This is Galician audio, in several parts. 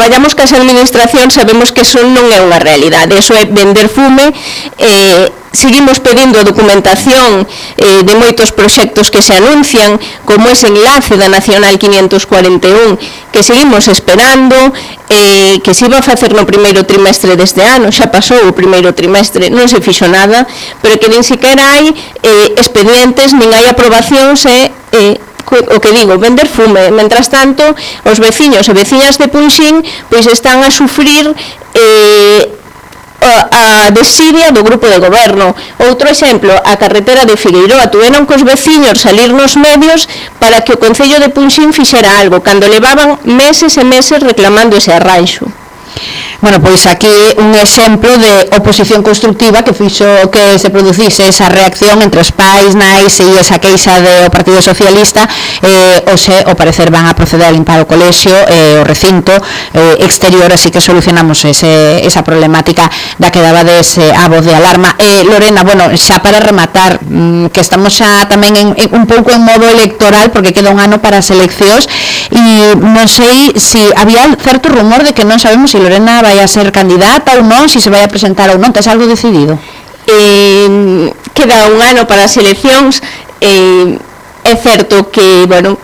traballamos cas administracións sabemos que eso non é unha realidade, eso é vender fume. Seguimos pedindo documentación de moitos proxectos que se anuncian, como ese enlace da Nacional 541, que seguimos esperando, que se iba a facer no primeiro trimestre deste ano, xa pasou o primeiro trimestre, non se fixo nada, pero que nin sequera hai expedientes, nin hai aprobacións, o que digo, vender fume. Mentras tanto, os veciños e veciñas de Punxín pois están a sufrir a desidia do grupo de goberno. Outro exemplo, a carretera de Figueiroa, tuveron cos veciños salir nos medios para que o Concello de Punxín fixera algo, cando levaban meses e meses reclamando ese arranxo. Bueno, pois aquí un exemplo de oposición constructiva que fixo que se producise esa reacción entre os pais, nais e esa queixa do Partido Socialista. Hoxe, ao parecer, van a proceder a limpar o colexio, o recinto exterior, así que solucionamos esa problemática da que dabades a voz de alarma. Lorena, bueno, xa para rematar, que estamos xa tamén un pouco en modo electoral, porque queda un ano para as eleccións, e non sei se había certo rumor de que non sabemos se Lorena vai a ser candidata ou non, se se vai a presentar ou non. Tes algo decidido? Queda un ano para as eleccións. É certo que, bueno,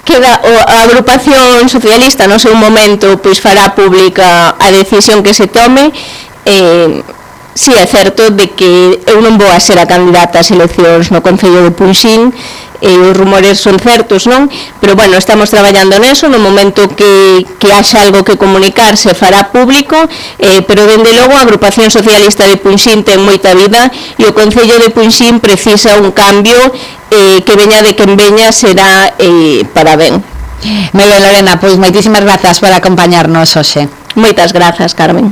queda a agrupación socialista no seu momento pois fará pública a decisión que se tome. Si é certo de que eu non vou a ser a candidata ás eleccións no Concello de Punxín, os rumores son certos, non? Pero, bueno, estamos traballando neso, no momento que haxa algo que comunicar se fará público, pero, dende logo, a agrupación socialista de Punxín ten moita vida e o Concello de Punxín precisa un cambio que veña de quen veña será para ben. Moi ben, Lorena, pois moitísimas grazas por acompañarnos hoxe. Moitas grazas, Carmen.